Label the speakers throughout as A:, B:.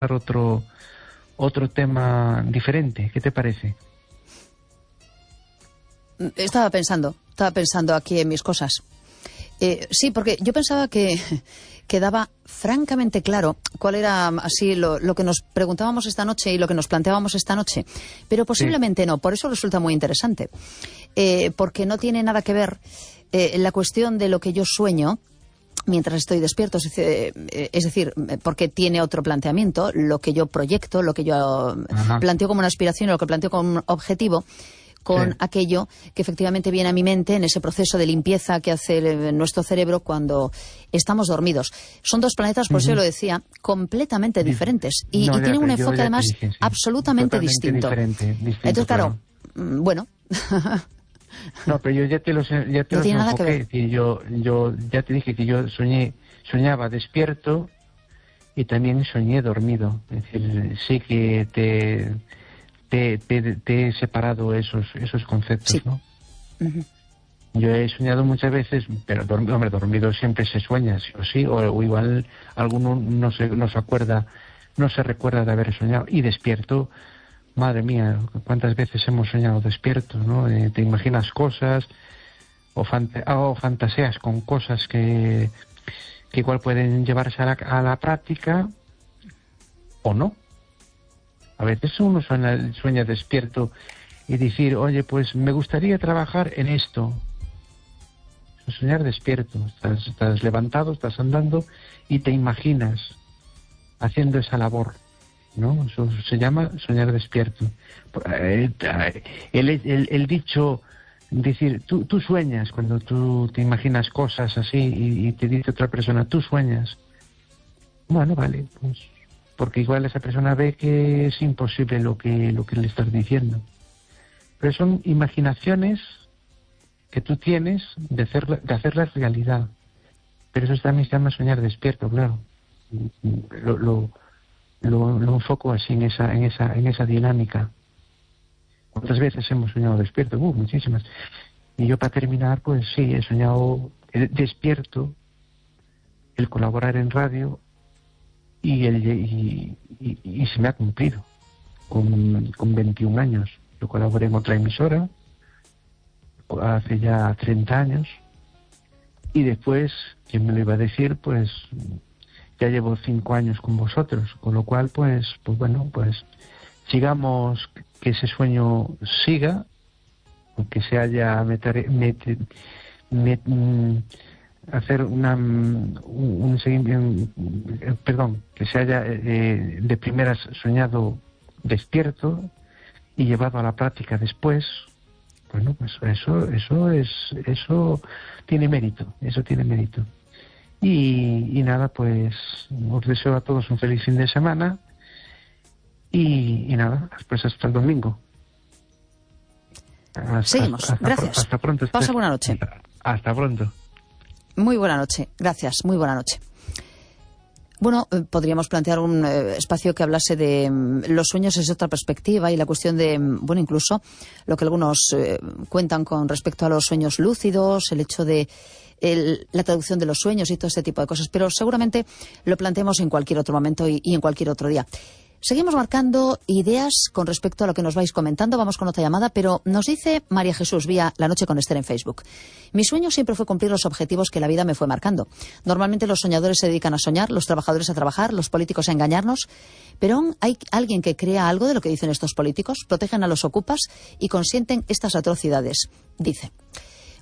A: otro tema diferente. ¿Qué te parece?
B: Estaba pensando aquí en mis cosas. Sí, porque yo pensaba que quedaba francamente claro cuál era así lo que nos preguntábamos esta noche y lo que nos planteábamos esta noche. Pero posiblemente no, por eso resulta muy interesante. Porque no tiene nada que ver la cuestión de lo que yo sueño mientras estoy despierto, es decir, porque tiene otro planteamiento, lo que yo proyecto, lo que yo planteo como una aspiración, lo que planteo como un objetivo, con aquello que efectivamente viene a mi mente en ese proceso de limpieza que hace nuestro cerebro cuando estamos dormidos. Son dos planetas, por eso lo decía, completamente diferentes y tienen un enfoque además absolutamente distinto. Entonces, claro, bueno...
A: No, pero yo ya te los enfoqué. Yo ya te dije que yo soñaba despierto y también soñé dormido. Es decir, sí que te he separado esos conceptos, sí. ¿No? Yo he soñado muchas veces, pero dormido siempre se sueña, sí o sí, o igual alguno no se recuerda de haber soñado. Y despierto, madre mía, cuántas veces hemos soñado despiertos, ¿no? Te imaginas cosas o fantaseas con cosas que igual pueden llevarse a la práctica o no. A veces uno sueña despierto y decir, oye, pues me gustaría trabajar en esto. Soñar despierto, estás levantado, estás andando y te imaginas haciendo esa labor, ¿no? Eso se llama soñar despierto. El dicho, decir, tú sueñas, cuando tú te imaginas cosas así y te dice otra persona, tú sueñas. Bueno, vale, pues porque igual esa persona ve que es imposible lo que le estás diciendo. Pero son imaginaciones que tú tienes de hacerlas realidad. Pero eso también se llama soñar despierto, claro. Lo enfoco así en esa dinámica. ¿Cuántas veces hemos soñado despierto? Muchísimas. Y yo, para terminar, pues sí, he soñado despierto, el colaborar en radio, y se me ha cumplido. Con 21 años. Yo colaboré en otra emisora hace ya 30 años. Y después, ¿quién me lo iba a decir? Pues ya llevo 5 años con vosotros, con lo cual pues bueno, pues sigamos, que ese sueño siga, aunque se haya hacer un seguimiento, que se haya de primeras soñado despierto y llevado a la práctica después. Bueno, pues eso tiene mérito, Y nada, pues os deseo a todos un feliz fin de semana y nada, pues hasta el domingo.
B: Seguimos, gracias.
A: Hasta pronto.
B: Pasa buena noche.
A: Hasta pronto.
B: Muy buena noche, gracias, muy buena noche. Bueno, podríamos plantear un espacio que hablase de los sueños desde otra perspectiva y la cuestión de, bueno, incluso lo que algunos cuentan con respecto a los sueños lúcidos, el hecho de la traducción de los sueños y todo este tipo de cosas, pero seguramente lo planteemos en cualquier otro momento y en cualquier otro día. Seguimos marcando ideas con respecto a lo que nos vais comentando. Vamos con otra llamada, pero nos dice María Jesús vía La Noche con Esther en Facebook. Mi sueño siempre fue cumplir los objetivos que la vida me fue marcando. Normalmente los soñadores se dedican a soñar, los trabajadores a trabajar, los políticos a engañarnos. Pero aún hay alguien que crea algo de lo que dicen estos políticos, protegen a los ocupas y consienten estas atrocidades, dice.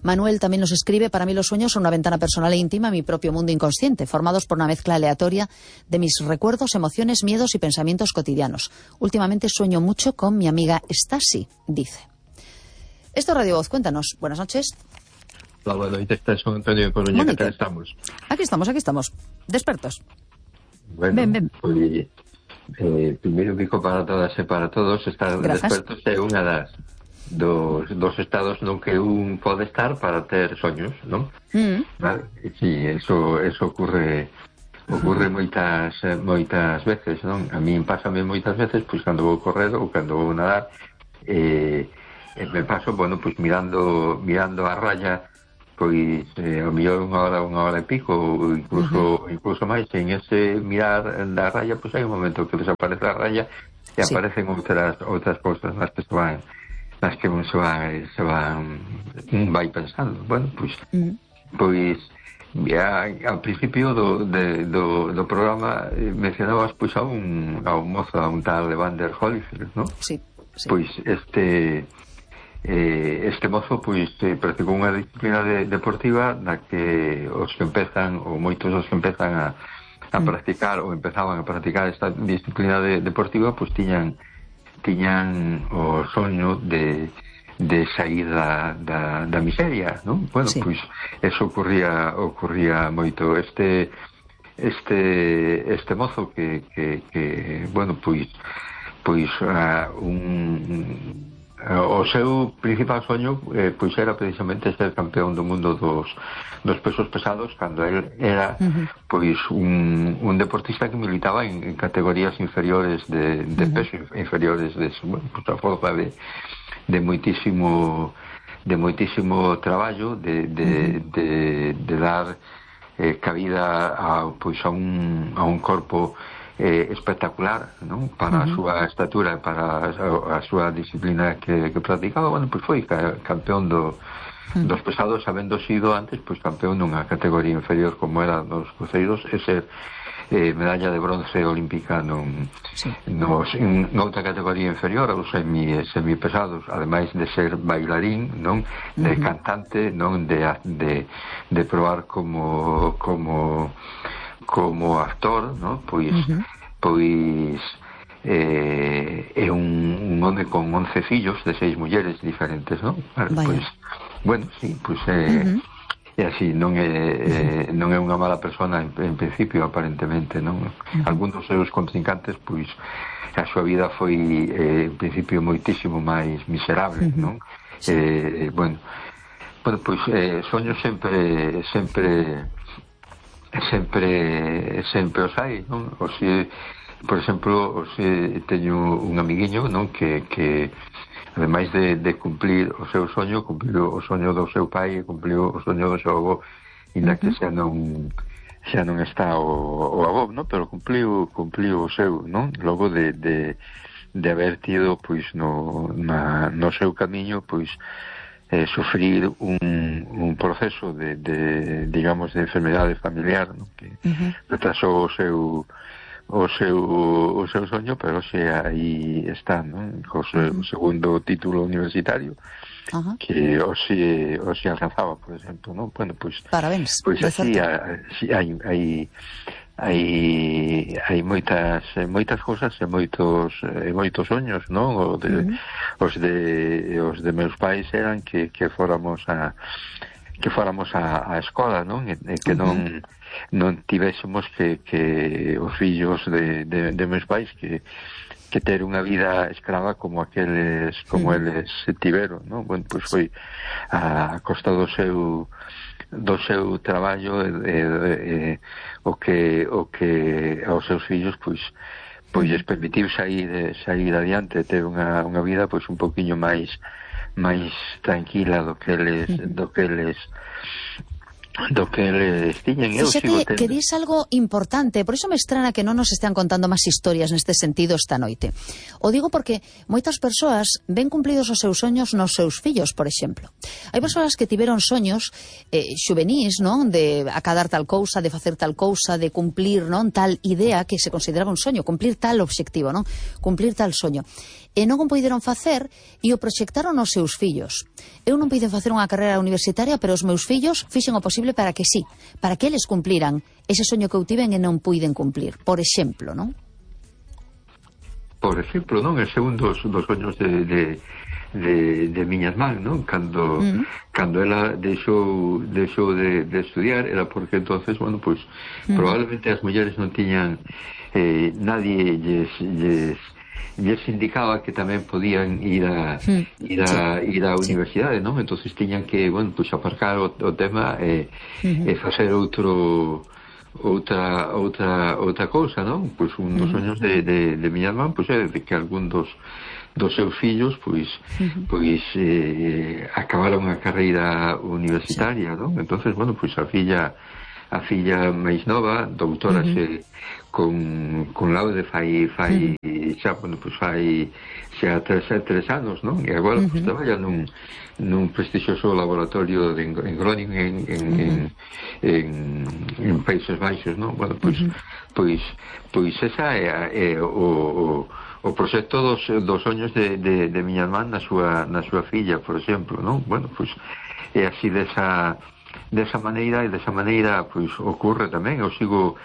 B: Manuel también nos escribe, para mí los sueños son una ventana personal e íntima a mi propio mundo inconsciente, formados por una mezcla aleatoria de mis recuerdos, emociones, miedos y pensamientos cotidianos. Últimamente sueño mucho con mi amiga Stasi, dice. Esto es Radio Voz, cuéntanos. Buenas noches.
C: Hola, buenas noches, soy Antonio Coruña, ¿qué tal estamos?
B: Aquí estamos, despertos.
C: Bueno,
B: ven.
C: Pues, primeiro digo para todas e para todos, estar despertos é unha das dos estados no que un pode estar para ter soños, non? Vale? Sí, eso ocurre moitas veces, non? A min pásame moitas veces, pois cando vou correr ou cando vou nadar, me paso, bueno, pois mirando a raya pois ao mellor unha hora e pico ou incluso máis. En ese mirar da raya, pois hai un momento que desaparece a raya e aparecen outras cousas nas que se van vai pensando. Bueno, pois ao principio do programa mencionabas pois a un mozo, a un tal Evander Holyfield, non?
B: Sí.
C: Pois este mozo pois practicou unha disciplina deportiva na que os que empezan, ou moitos dos que empezan a practicar ou empezaban a practicar esta disciplina deportiva, pois tiñan o soño de sair da miseria, non? Bueno, pois eso ocurría moito. Este mozo que bueno, pois o seu principal soño pois era precisamente ser campeón do mundo dos pesos pesados, cando el era pois un deportista que militaba en categorías inferiores de peso, inferiores de a forza de moitísimo traballo de dar cabida a un corpo espectacular, non? Para a súa estatura, para a súa disciplina que practicaba. Bueno, pois foi campeón dos pesados, habendo sido antes pois campeón dunha categoría inferior como eran os cruceiros, e ser medalla de bronce olímpica noutra categoría inferior aos semipesados, ademais de ser bailarín, non? De cantante, non? De probar como actor, non? Pois é un home con 11 fillos de 6 mulleres diferentes, non? Pois, bueno, sí, pois é así, non é unha mala persona en principio, aparentemente, non? Algún dos seus contrincantes, pois a súa vida foi en principio moitísimo máis miserable, non? Bueno, pois soños sempre os hai, non? Por exemplo, teño un amiguiño, non? Que ademais de cumplir o seu soño, cumpliu o soño do seu pai e cumpliu o soño do seu avó, inda que xa non está o avó, non? Pero cumpliu o seu, non? Logo de haber tido pois no seu camiño pois sufrir un proceso digamos de enfermedade familiar, non? Que retrasou o seu soño, pero xe aí está, non? O segundo título universitario que hoxe alcanzaba, por exemplo, non? Bueno, pois
B: parabéns.
C: Pois así hai moitas cousas e moitos soños, non? Os de meus pais eran que fóramos a escola, non? E que non tivésemos que os fillos de meus pais que ter unha vida escrava como eles tiveron, non? Bueno, pois foi a costa do seu traballo o que aos seus fillos pois lles permitiu sair adiante, ter unha vida pois un poquinho máis tranquila do que eles tiñen.
B: Fíxate que dis algo importante, por iso me estrana que non nos estean contando máis historias neste sentido esta noite. O digo porque moitas persoas ven cumplidos os seus soños nos seus fillos, por exemplo. Hai persoas que tiveron soños xuvenís, non? De acadar tal cousa, de facer tal cousa, de cumplir, non? Tal idea que se consideraba un soño, cumplir tal obxectivo, non? Cumplir tal soño. E non o poideron facer e o proxectaron os seus fillos. Eu non poiden facer unha carreira universitaria, pero os meus fillos fixen o posible para que sí, para que eles cumpliran ese soño que eu tiven e non puiden cumplir, por exemplo, non?
C: Por exemplo, non? Ese é un dos soños de miñas man, non? Cando ela deixou de estudiar, era porque entonces, bueno, pois probablemente as mulleres non tiñan nadie lles indicaba que tamén podían ir á universidade, non? Entonces tiñan que, bueno, pues aparcar o tema e facer outra cousa, non? Pois un dos soños de miña irmán, pois é de que algún dos seus fillos, pois acabaron a carreira universitaria, non? Entonces, bueno, pois a filla máis nova, doutorase con laude fai xa, bueno, pois fai xa 3 anos, non? E agora pois traballa nun prestixioso laboratorio en Groningen en Países Baixos, non? Bueno, pois esa é o proxecto dos soños de miña irmán na súa filla, por exemplo, non? Bueno, pois é así desa maneira, e desa maneira pois ocorre tamén. Eu sigo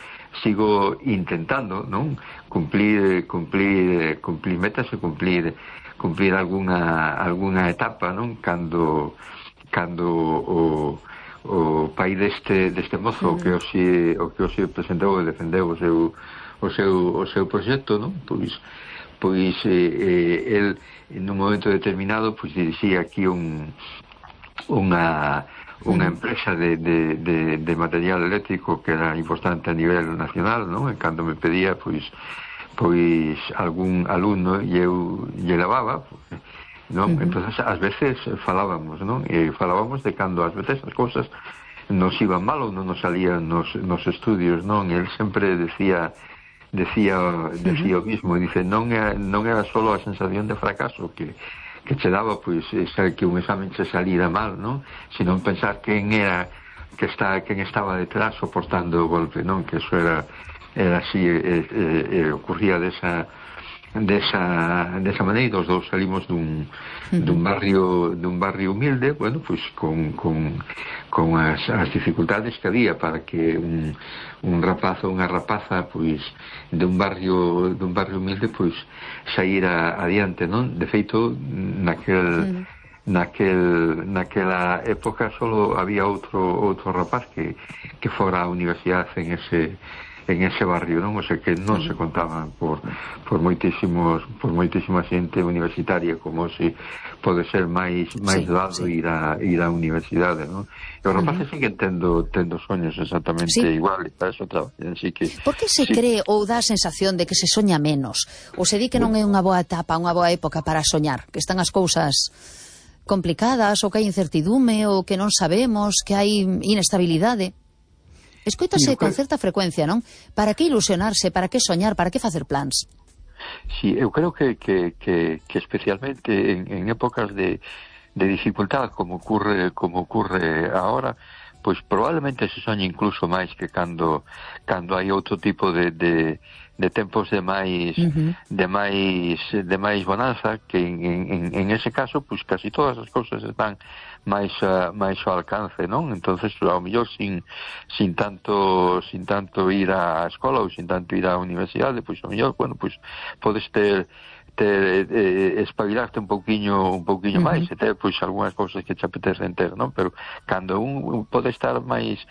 C: intentando, non, cumplir metas e cumplir alguna etapa, non, cando o pai deste mozo que hoxe presentou e defendeu o seu proxecto, non, pois el nun momento determinado pois dirixía aquí unha empresa de material eléctrico que era importante a nivel nacional, non? E cando me pedía pois algún alumno e eu lle levaba, non? Entonces ás veces falábamos, non? E falábamos de cando ás veces as cousas nos iban mal ou non nos salían nos estudios, non? E el sempre decía o mismo, dice, non era solo a sensación de fracaso que che daba, pois, que un examen che salira mal, non? Sino pensar quen estaba detrás soportando o golpe, non? Que eso era así, ocurría desa maneira. Os dous salimos dun barrio humilde, bueno, pois con as dificultades que había para que un rapaz ou unha rapaza pois dun barrio humilde pois saíra adiante, non? De feito, naquela época solo había outro rapaz que fora á universidade en ese barrio, non? O sea, que non se contaban por moitísima xente universitaria, como se pode ser máis doado ir á universidade, non? E os rapaces siguen tendo soños exactamente igual, e para eso traballan, así que...
B: Por que se cree ou dá a sensación de que se soña menos? Ou se di que non é unha boa etapa, unha boa época para soñar? Que están as cousas complicadas, ou que hai incertidume, ou que non sabemos, que hai inestabilidade? Escoítase con certa frecuencia, non? Para que ilusionarse, para que soñar, para que facer plans?
C: Sí, eu creo que especialmente en épocas de dificultad como ocurre ahora, pois probablemente se soñe incluso máis que cando hai outro tipo de tempos de máis bonanza, que en ese caso pois casi todas as cousas están máis ao alcance, non? Entonces, ao mellor sin tanto ir á escola ou sin tanto ir á universidade, pois ao mellor, bueno, pois podes ter espabilarte un pouquiño máis e ter pois algunhas cousas que te apetecen ter, non? Pero cando un pode estar máis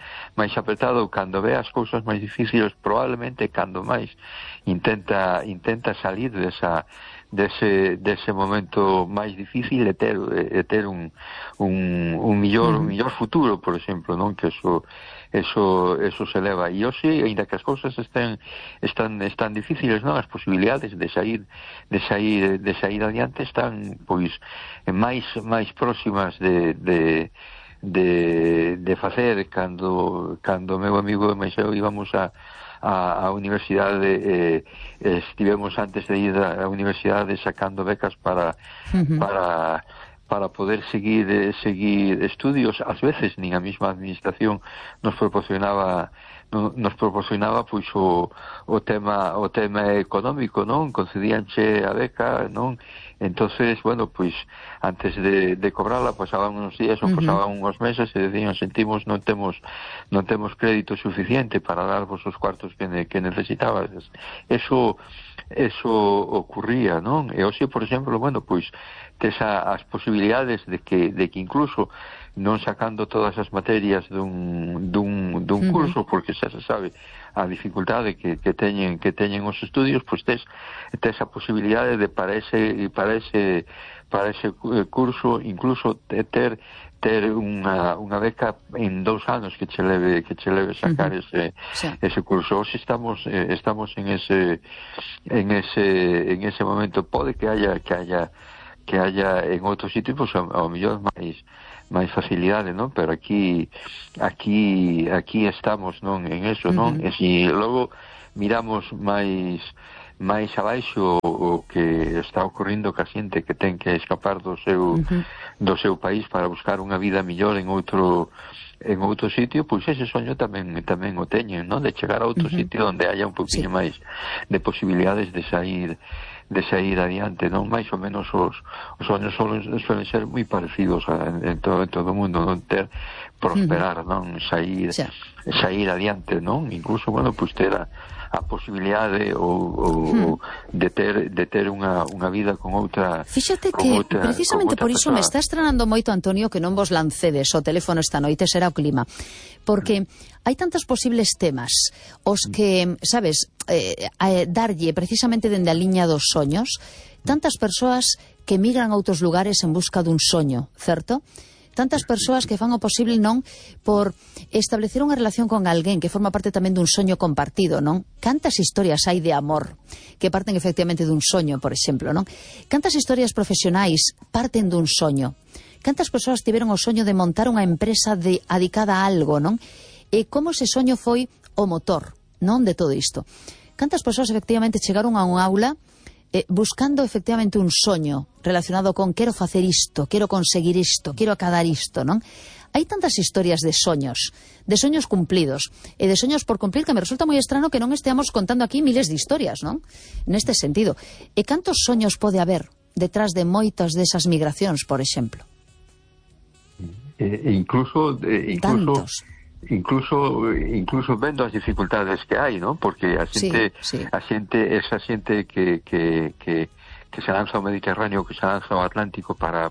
C: apretado, cando ve as cousas máis difíciles, probablemente cando máis intenta salir dese momento máis difícil e ter un millor futuro, por exemplo, non? Que eso se eleva. E hoxe, aínda que as cousas están difíciles, non? As posibilidades de sair adiante están pois máis próximas de facer. Cando meu amigo e máis eu íbamos a universidade, estivemos antes de ir á universidade sacando becas para poder seguir estudios. Ás veces nin a mesma administración nos proporcionaba pois o tema económico, non? Concedíanche a beca, non? Entonces, bueno, pois antes de cobrarla pasaban uns días ou pasaban uns meses e decían, sentimos, non temos crédito suficiente para darvos os cuartos que necesitabas. Eso ocurría, non? E hoxe, por exemplo, bueno, pois as posibilidades de que incluso non sacando todas as materias dun curso, porque xa se sabe a dificultade que teñen os estudios, pois tes a posibilidade de para ese curso incluso ter unha beca en 2 anos que che leve sacar ese curso. Hoxe estamos en ese momento. Pode que haya en outros sitios, pois ao mellor máis facilidade, non? Pero aquí estamos, non, en eso, non? E se logo miramos máis abaixo o que está ocorrendo ca xente que ten que escapar do seu país para buscar unha vida mellor en outro sitio, pois ese soño tamén o teñen, non? De chegar a outro sitio onde haya un poquinho máis de posibilidades de sair adiante, non? Mais ou menos os soños suelen ser moi parecidos en todo o mundo, non? Prosperar, non? Sair adiante, non? Incluso, bueno, pues ter a posibilidade ou de ter unha vida con outra.
B: Fíxate que precisamente por iso me está estranando moito, Antonio, que non vos lancedes o teléfono esta noite, será o clima, porque hai tantos posibles temas os que, sabes, darlle precisamente dende a liña dos soños, tantas persoas que migran a outros lugares en busca dun soño, certo? Tantas persoas que fan o posible, non, por establecer unha relación con alguén que forma parte tamén dun soño compartido, non? Cantas historias hai de amor que parten efectivamente dun soño, por exemplo, non? Cantas historias profesionais parten dun soño? Cantas persoas tiveron o soño de montar unha empresa dedicada a algo, non? E como ese soño foi o motor, non, de todo isto? Cantas persoas efectivamente chegaron a un aula buscando efectivamente un soño relacionado con quero facer isto, quero conseguir isto, quero acadar isto, non? Hai tantas historias de soños cumplidos e de soños por cumplir que me resulta moi estrano que non esteamos contando aquí miles de historias, non? Neste sentido. E cantos soños pode haber detrás de moitas desas migracións, por exemplo?
C: Incluso
B: tantos.
C: Incluso vendo as dificultades que hai, non? Porque esa xente que se lanza ao Mediterráneo, que se lanza ao Atlántico para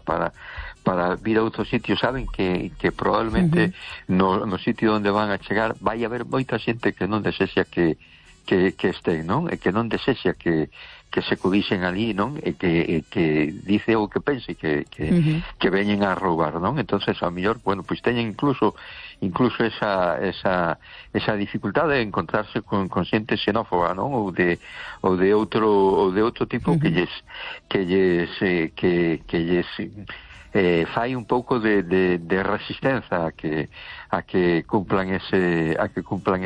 C: vir a outro sitio, saben que probablemente no sitio onde van a chegar vai haber moita xente que non desexa que este, non? E que non desexa que se codixen ali, non? E que dice o que pense que veñen a roubar, non? Entonces, a mellor, bueno, pois teñen incluso esa dificultade de encontrarse con xente xenófoba, non? Ou de outro tipo que lles fai un pouco de resistencia a que cumplan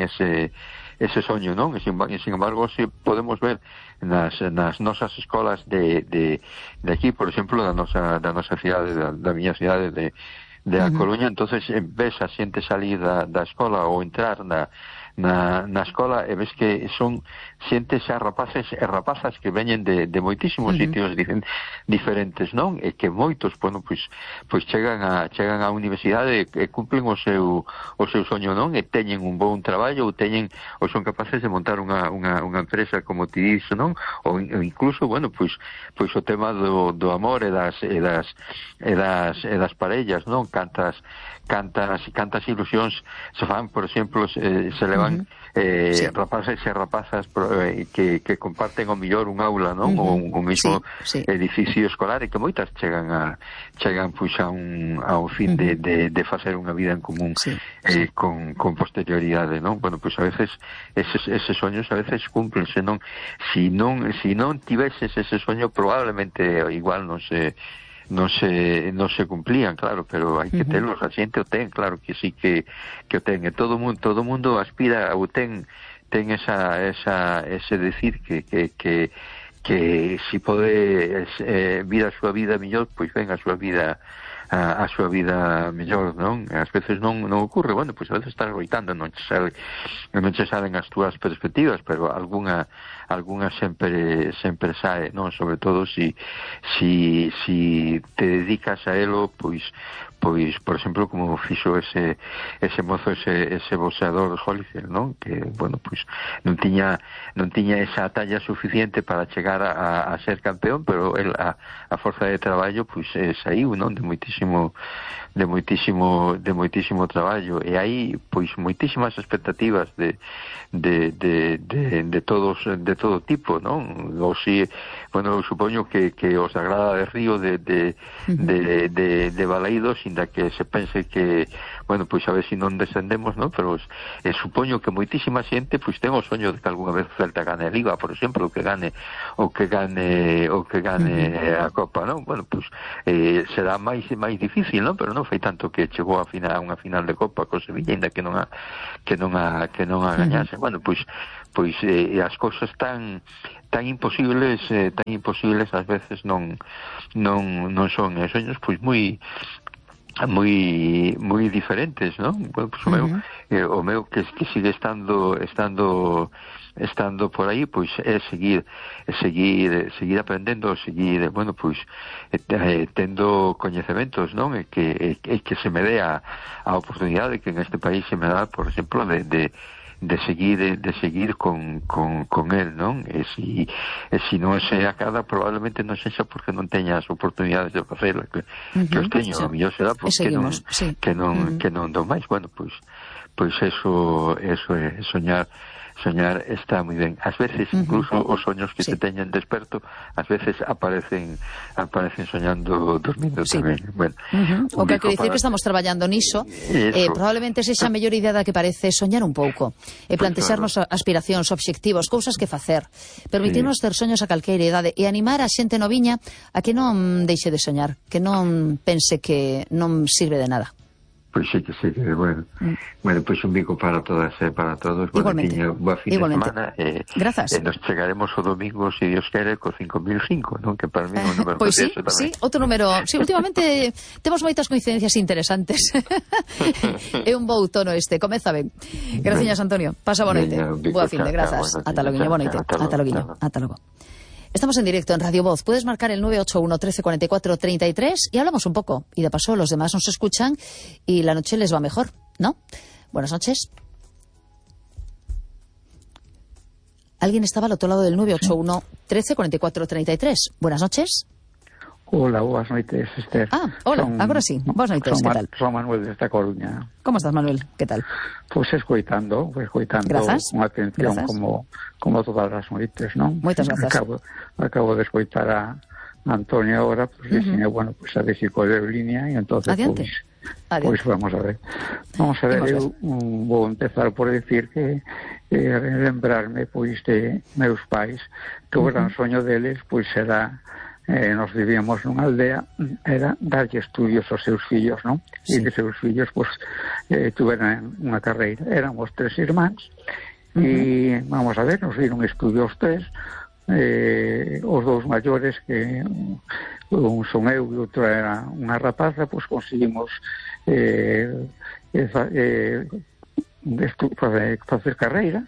C: ese soño, non? E sin embargo, se podemos ver nas nosas escolas de aquí, por exemplo, da nosa cidade, da miña cidade de A Coruña, entonces ves a xente salir da escola ou entrar na escola e ves que son xentes xa rapaces e rapazas que veñen de moitísimos sitios diferentes, non? E que moitos, bueno, pois chegan á universidade e cumplen o seu soño, non? E teñen un bon traballo ou son capaces de montar unha empresa, como ti dixo, non? Ou incluso, bueno, pois o tema do amor e das parellas, non? Cantas ilusións se fan, por exemplo, se levan rapaces e rapazas que comparten ao mellor un aula, non? Ou un mismo edificio escolar, e que moitas chegan pois a un fin de facer unha vida en común con posterioridade, non? Bueno, pois a veces eses soños a veces cúmplense, non? Si non tiveses ese soño, probablemente igual non se cumplían, claro, pero hai que telos, a xente o ten, claro que sí que o ten, e todo mundo aspira ou ten ese decir que si pode vir a súa vida mellor, pois ven a súa vida mellor, non? Ás veces non ocurre, bueno, pois a veces estás loitando, non che salen as túas perspectivas, pero algunha algunha sempre sae, non? Sobre todo si te dedicas a elo, pois por exemplo, como fixo ese mozo, ese boxeador Holyfield, non? Que, bueno, pois non tiña esa talla suficiente para chegar a ser campeón, pero el a forza de traballo, pois saiu, non? De moitísimo traballo, e hai pois moitísimas expectativas de todo tipo, non? Ou si, bueno, eu supoño que os da Grada de Río de Balaídos, inda que se pense que, bueno, pois a ver se non descendemos, non? Pero supoño que moitísima xente pois ten o soño de que algunha vez Celta gane a Liga, por exemplo, que gane a Copa, non? Bueno, pois será máis difícil, non? Pero non foi tanto que chegou a unha final de Copa co Sevilla, ainda que non a gañase. Bueno, pois as cousas tan imposibles ás veces non son soños pois moi diferentes, non? Bueno, pues o meu que sigue estando por aí, pois é seguir aprendendo, bueno, pois tendo coñecementos, non? E que se me dé a oportunidade que en este país se me dá, por exemplo, de seguir con él, non? E si non se acada, probablemente non sexa porque non teña as oportunidades de facelo, que os teño, a mellor será porque que non do máis. Bueno, pois eso é soñar está moi ben. Ás veces incluso os soños que te teñen desperto, ás veces aparecen soñando dormindo tamén. Bueno,
B: o que quero dicir que estamos traballando niso, probablemente sexa a mellor idea da que parece soñar un pouco, e plantexarnos aspiracións, obxectivos, cousas que facer, permitirnos ter soños a calqueira idade e animar a xente noviña a que non deixe de soñar, que non pense que non sirve de nada.
C: Pois sí, bueno. Bueno, pois un bico para todas e para todos.
B: Igualmente.
C: Boa fin de semana.
B: Grazas.
C: Nos chegaremos o domingo, se Dios quere, co 5005, non? Que para mí é un número
B: pois sí, outro número. Sí, últimamente temos moitas coincidencias interesantes. É un bo outono este, comeza ben. Graciñas, Antonio. Pasa boa noite. Boa fin de grazas. Ata loguiño, boa noite. Ata logo. Estamos en directo en Radio Voz. Puedes marcar el 981 13 44 33 y hablamos un poco. Y de paso los demás nos escuchan y la noche les va mejor, ¿no? Buenas noches. ¿Alguien estaba al otro lado del 981 13 44 33? Buenas noches.
D: Hola, boas noites, Esther.
B: Hola, agora sí. Boas noites, que tal?
D: Son Manuel desta Coruña.
B: Como estás, Manuel? Que tal?
D: Pois escoitando
B: Grazas.
D: con atención. Grazas. como todas as noites, non?
B: Moitas grazas.
D: Acabo de escoitar a Antonio agora, pois bueno, pois a ver se coleo línea e entonces pois vamos a ver. Eu vou empezar por decir que lembrarme pois de meus pais, que o gran soño deles pois era nos vivíamos nunha aldea, era darlle estudios aos seus fillos, non? E que seus fillos pois tuveran unha carreira. Éramos 3 irmáns e vamos a ver, nos viron estudios 3, os 2 maiores, que un son eu e outro era unha rapaza, pois conseguimos facer carreira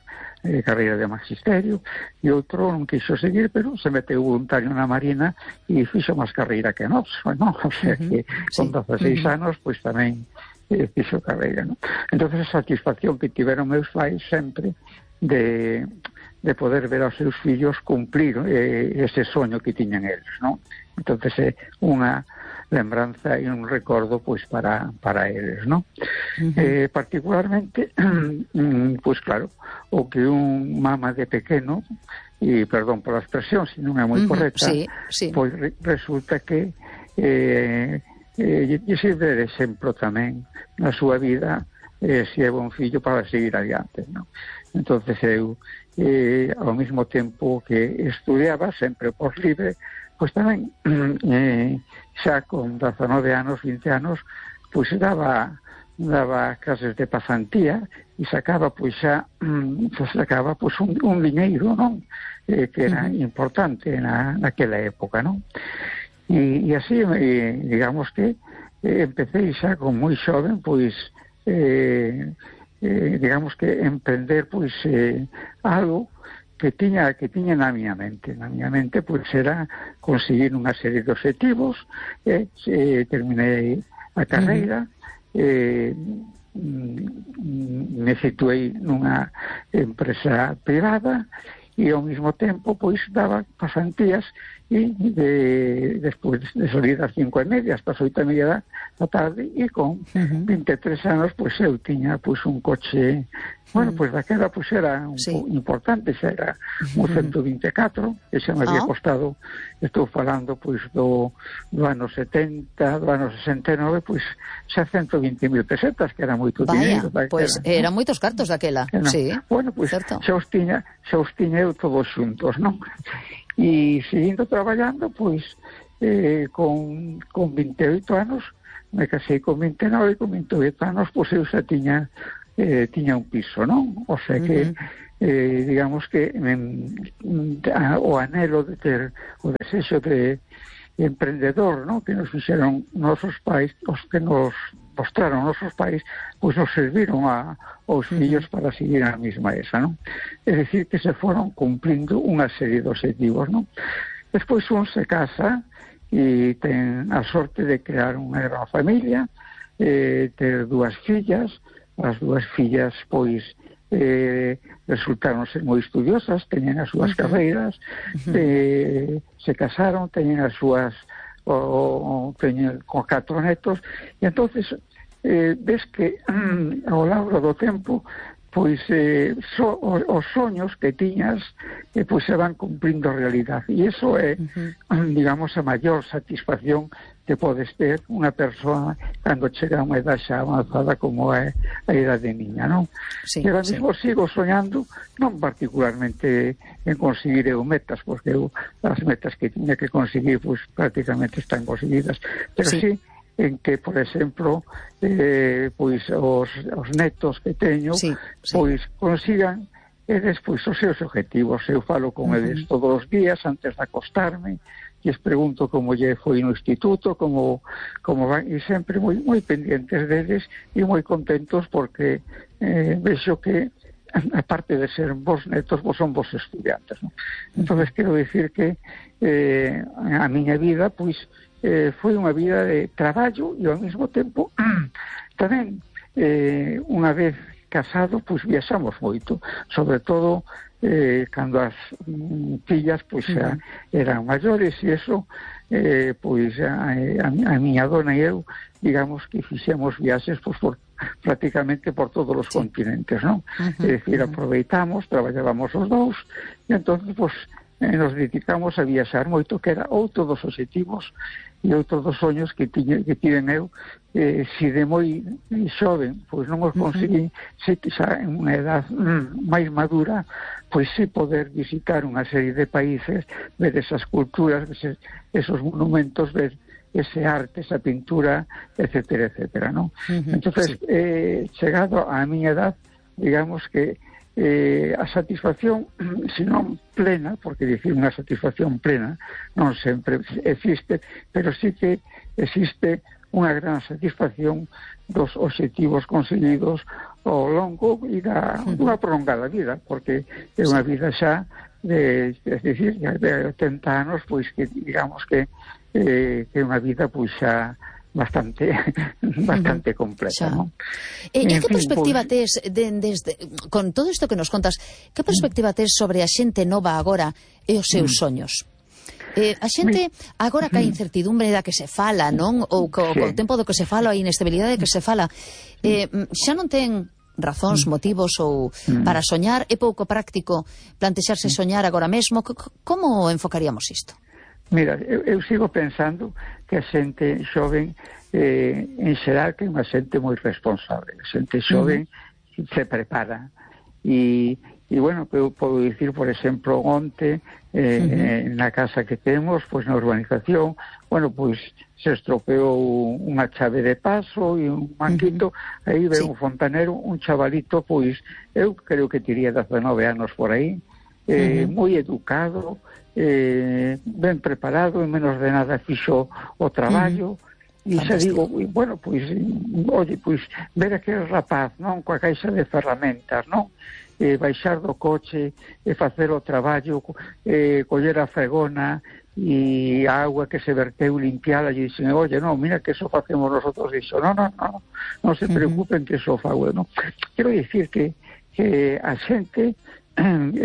D: de magisterio, e outro non quixo seguir, pero se meteu voluntario na Marina e fixo máis carreira que nós, non? O sea que con 16 anos pois tamén fixo carreira, non? Entón a satisfacción que tiveron meus pais sempre de poder ver aos seus fillos cumplir ese soño que tiñan eles, non? Entón é unha lembranza e un recordo pois para eles, non? Particularmente pois claro, o que un mama de pequeno, e perdón pola expresión se non é moi correcta, pois resulta que lle sirve de exemplo tamén na súa vida, se é bon fillo para seguir adiante, non? Entonces eu ao mesmo tempo que estudiaba sempre por libre, pois tamén xa con 19 anos, 20 anos, pois daba clases de pasantía e sacaba pois un diñeiro, non? Que era importante naquela época, non? E así, digamos que empecé xa con moi xoven, pois digamos que emprender pois algo que tiña na miña mente. Na miña mente, pois, era conseguir unha serie de objetivos, terminei a carreira, me situei nunha empresa privada e ao mesmo tempo, pois, daba pasantías e despois de salir das 5:30 hasta as 8:30 da tarde, e con 23 anos, pois, eu tiña, pois, un coche, bueno, pois, daquela, pois, era importante, xa era un 124, que xa me había costado, estou falando, pois, do ano 70, do ano 69, pois, xa 120.000 pesetas, que era moito dinheiro.
B: Pois, eran moitos cartos daquela, sí.
D: Bueno, pois, xa os tiña eu todos xuntos, non? E seguindo traballando, pois, con 28 anos, me casei con 29, e con 28 anos, pois, eu xa tiña un piso, non? O sea que, digamos que o anhelo de ter o desexo de emprendedor, non? Que nos fixeron nosos pais, os que nos mostraron nosos pais, pois nos serviron aos fillos para seguir a mesma esa, non? É dicir, que se foron cumplindo unha serie de objetivos, non? Despois un se casa e ten a sorte de crear unha gran familia, ter dúas fillas. As dúas fillas, pois, resultaron ser moi estudiosas, teñen as súas carreiras, se casaron, teñen as súas, teñen con 4 netos, e entonces ves que ao largo do tempo, pois, os soños que tiñas, pois, se van cumprindo realidade, e iso é, digamos, a maior satisfacción que podes ter unha persoa cando chega a unha edad xa avanzada como é a idade niña, non?
B: Sí,
D: e agora mesmo sigo soñando, non particularmente en conseguir eu metas, porque eu as metas que tiña que conseguir, pois, prácticamente están conseguidas, pero sí en que, por exemplo, pois os netos que teño, pois, consigan eles, pois, os seus objetivos. Eu falo con eles todos os días antes de acostarme, e les pregunto como lle foi no instituto, como van, e sempre moi pendientes deles e moi contentos, porque vexo que, aparte de ser vos netos, vos son vos estudiantes, non? Entonces, quero dicir que a miña vida, pois, foi unha vida de traballo, e ao mesmo tempo tamén, unha vez casado, pois, viaxamos moito, sobre todo cando as fillas, pois, eran maiores, e eso, pois, a miña dona e eu, digamos que fixemos viaxes, pois, prácticamente por todos os continentes, non? É dicir, aproveitamos, traballábamos os dous, e entón, pois, nos dedicamos a viaxar moito, que era outro dos objetivos e outro dos soños que tiven eu. Si de moi xoven, pois, non os conseguí, se xa en unha edad máis madura, pois si poder visitar unha serie de países, ver esas culturas, ver esos monumentos, ver ese arte, esa pintura, etcétera, etcétera, non? Entonces, chegado á miña edad, digamos que a satisfacción, se non plena, porque dicir unha satisfacción plena non sempre existe, pero sí que existe unha gran satisfacción dos objetivos conseguidos ao longo e dunha prolongada vida, porque é unha vida xa de 80 anos, pois, que digamos que é unha vida, pois, xa bastante completa, ¿no?
B: E que perspectiva tes con todo isto que nos contas, que perspectiva tes sobre a xente nova agora e os seus soños? A xente agora que a incertidumbre da que se fala, non? Ou co tempo do que se fala, a inestabilidade que se fala, xa non ten razóns, motivos ou para soñar? É pouco práctico plantexarse soñar agora mesmo? Como enfocaríamos isto?
D: Mira, eu sigo pensando que a xente xoven, en xeral, que é unha xente moi responsable. A xente xoven se prepara. E bueno, eu podo dicir, por exemplo, onte, na casa que temos, pois, na urbanización, bueno, pois, se estropeou unha chave de paso e un manguito, aí ve un fontanero, un chavalito, pois, eu creo que tiría 19 anos por aí, moi educado, ben preparado, en menos de nada fixo o traballo, e xa digo, bueno, pois, oye, pois, ver aquel rapaz, non, coa caixa de ferramentas, non, baixar do coche, facer o traballo, coller a fregona e a agua que se verteu limpiala, e dicen, oye, no, mira que eso facemos nosotros, dixo, non se preocupen que eso fago, non? Quero dicir que a xente ten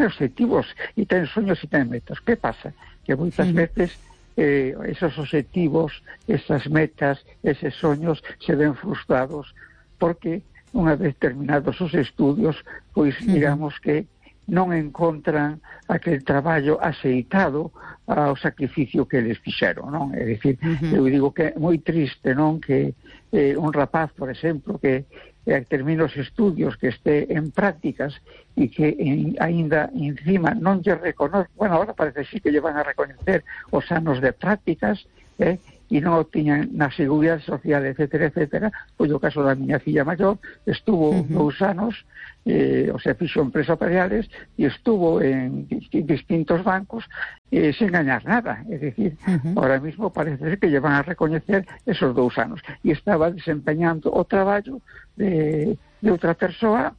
D: objetivos e ten sueños e ten metas. Que pasa? Que moitas veces esos objetivos, esas metas, eses soños se ven frustrados porque unha vez terminados os estudios, pois digamos que non encontran aquel traballo axeitado ao sacrificio que eles fixeron, non? É dicir, eu digo que é moi triste, non? Que un rapaz, por exemplo, que termine os estudios, que este en prácticas e que aínda encima non lle reconoce, bueno, ahora parece sí que lle van a reconocer os anos de prácticas, e non o tiñan na Seguridade Social, etcétera, pois o caso da miña filla maior estuvo 2 anos, o sea, fixo empresas empresariales e estuvo en distintos bancos sen gañar nada, é dicir, ahora mismo parece que lle van a recoñecer esos 2 anos e estaba desempeñando o traballo de outra persoa,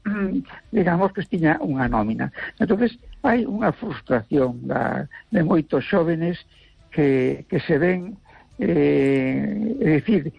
D: digamos que tiña unha nómina. Entonces hai unha frustración de moitos xóvenes que se ven, é dicir,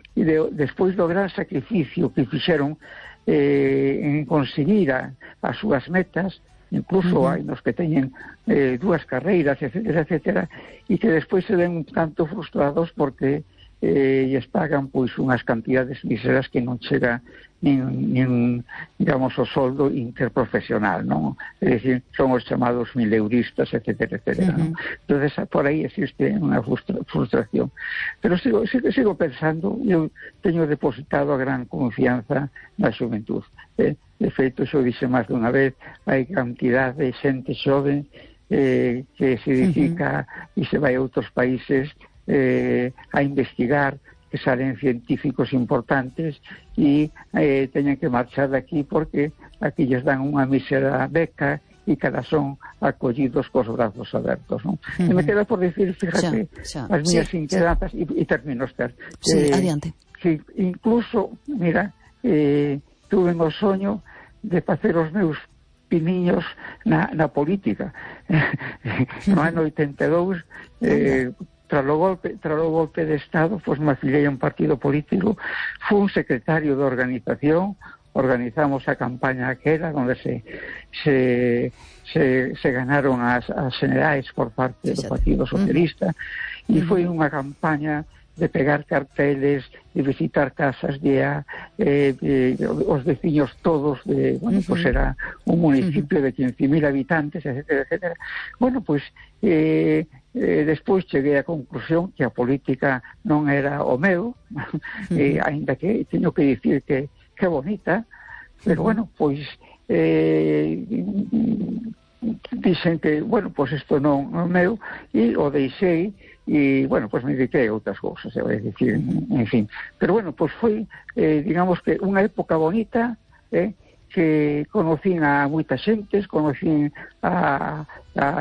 D: despois do gran sacrificio que fixeron en conseguir as súas metas, incluso hai nos que teñen 2 carreiras, etcétera, e que despois se ven un tanto frustrados porque lles pagan pois unhas cantidades míseras que non chega nin digamos o soldo interprofesional, non? É dicir, son os chamados mileuristas, etcétera, non? Entonces por aí existe unha frustración, pero sigo pensando, eu teño depositado a gran confianza na xuventud, de feito, xo dixe máis dunha vez, hai cantidad de xente xoven que se dedica e se vai a outros países a investigar, que salen científicos importantes e teñen que marchar de aquí porque aquí lles dan unha mísera beca e cada son acollidos cos brazos abertos, non? E me queda por decir, fíjate, as miñas inquedanzas e termino, Esther.
B: Adiante.
D: Que incluso, mira, tuve o soño de facer os meus piniños na política. No ano 82, tras o golpe de Estado, pois me afiliei a un partido político, fui un secretario de organización, organizamos a campaña aquela onde se ganaron as generais por parte do Partido Socialista e foi unha campaña de pegar carteles, de visitar casas os veciños todos bueno, pues era un municipio de 15.000 habitantes, etcétera. Bueno, pues despois cheguei á conclusión que a política non era o meu, aínda que teño que dicir que bonita, pero bueno, pois dicen que, bueno, pois isto non é meu, e o deixei, e, bueno, pois me dediquei a outras cousas, é dicir, en fin. Pero, bueno, pois foi, digamos que, unha época bonita, que conocín a moitas xentes, conocín a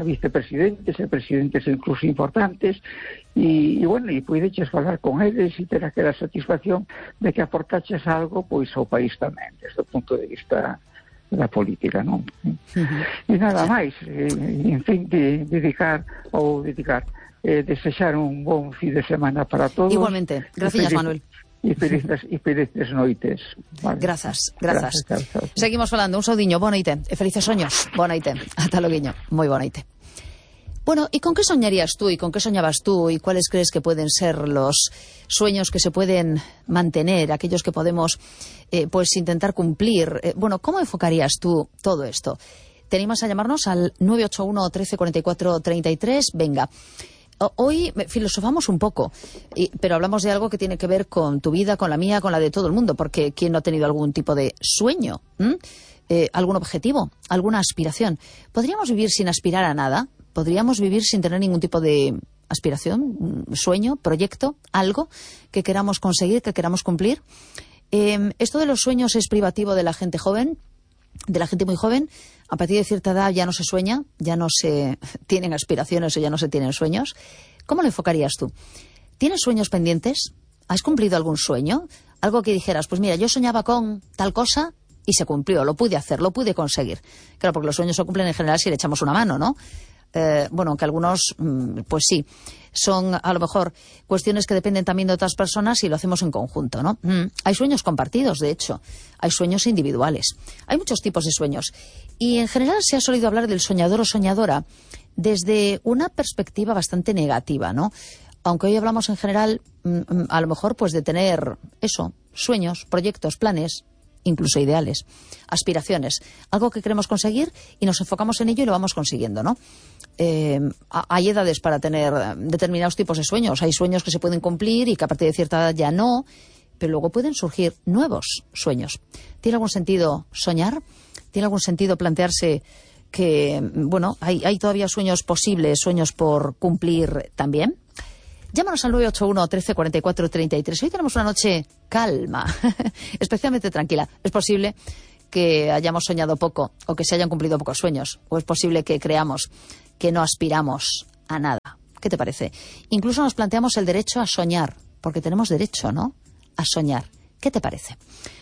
D: vicepresidentes e presidentes incluso importantes, e bueno, e puideches falar con eles e ter aquela satisfacción de que aportaches algo, pois, ao país tamén, desde o punto de vista da política, non? E nada máis, en fin, desexar un bon fin de semana para todos.
B: Igualmente, gracias, Manuel.
D: E felices noites. Vale.
B: Grazas. Seguimos falando, un saudiño, boa noite, e felices soños, boa noite, ata loguiño, moi boa noite. Bueno, ¿y con qué soñarías tú y con qué soñabas tú y cuáles crees que pueden ser los sueños que se pueden mantener, aquellos que podemos pues intentar cumplir? Bueno, ¿cómo enfocarías tú todo esto? ¿Te animas a llamarnos al 981 13 44 33? Venga. Hoy filosofamos un poco, pero hablamos de algo que tiene que ver con tu vida, con la mía, con la de todo el mundo, porque ¿quién no ha tenido algún tipo de sueño? ¿Algún objetivo? ¿Alguna aspiración? ¿Podríamos vivir sin aspirar a nada? ¿Podríamos vivir sin tener ningún tipo de aspiración, sueño, proyecto, algo que queramos conseguir, que queramos cumplir? Esto de los sueños es privativo de la gente joven, de la gente muy joven. A partir de cierta edad ya no se sueña, ya no se tienen aspiraciones o ya no se tienen sueños. ¿Cómo lo enfocarías tú? ¿Tienes sueños pendientes? ¿Has cumplido algún sueño? Algo que dijeras, pues mira, yo soñaba con tal cosa y se cumplió, lo pude hacer, lo pude conseguir. Claro, porque los sueños se cumplen en general si le echamos una mano, ¿no? Bueno, aunque algunos, pues sí, son a lo mejor cuestiones que dependen también de otras personas y lo hacemos en conjunto, ¿no? Hay sueños compartidos, de hecho, hay sueños individuales, hay muchos tipos de sueños y en general se ha solido hablar del soñador o soñadora desde una perspectiva bastante negativa, ¿no? Aunque hoy hablamos en general, a lo mejor, pues de tener eso, sueños, proyectos, planes, incluso ideales, aspiraciones, algo que queremos conseguir y nos enfocamos en ello y lo vamos consiguiendo, ¿no? Hay edades para tener determinados tipos de sueños. Hay sueños que se pueden cumplir y que a partir de cierta edad ya no, pero luego pueden surgir nuevos sueños. ¿Tiene algún sentido soñar? ¿Tiene algún sentido plantearse que, bueno, hay todavía sueños posibles, sueños por cumplir también? Llámanos al 981 13 44 33. Hoy tenemos una noche calma, especialmente tranquila. Es posible que hayamos soñado poco o que se hayan cumplido pocos sueños. O es posible que creamos que no aspiramos a nada. ¿Qué te parece? Incluso nos planteamos el derecho a soñar, porque tenemos derecho, ¿no?, a soñar. ¿Qué te parece?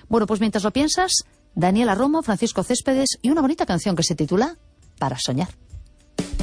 B: Bueno, pues mientras lo piensas, Daniela Romo, Francisco Céspedes y una bonita canción que se titula Para soñar.